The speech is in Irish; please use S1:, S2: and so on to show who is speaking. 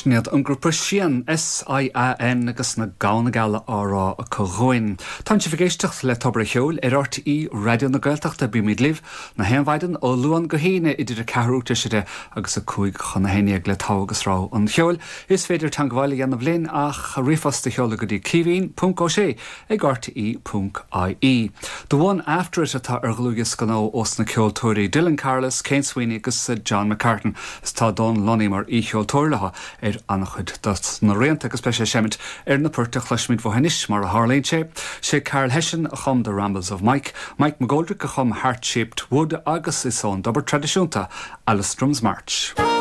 S1: Sin iad an grúpa Sian, S-I-A-N, agus na Gamhna Geala á rá acu dhúinn. Tánn sibh ag éisteacht le Tobar an Cheoil ar RTÉ Raidió na Gaeltachta. Bímid libh na haon mhaidin ó Luan go hAoine idir a ceathrú tar éis a 10 agus a 11 chun le togha agus rogha an cheoil. Is féidir teangmháil a dhéanamh linn ach ríomhphost a sheoladh go dtí caoimhín ponc ó sé ag rte ponc ie. The One After It atá ar dhlúthdhiosca nua ós na ceoltóirí Dylan Carless, Kane Sweeney agus John McCartan is tá Dónal Lunny mar aoicheoltóir leo ar an-chuid dos na rianta agus beidh sé ag seimint ar na poirt a chloisfimid uathu anois mar a tharlaíonn sé. Sé Karl Hession a chum The Rambles of Mike, Mike McGoldrick a chum Heart Shaped Wood agus is ón dtobar traidisiúnta Alestrom March.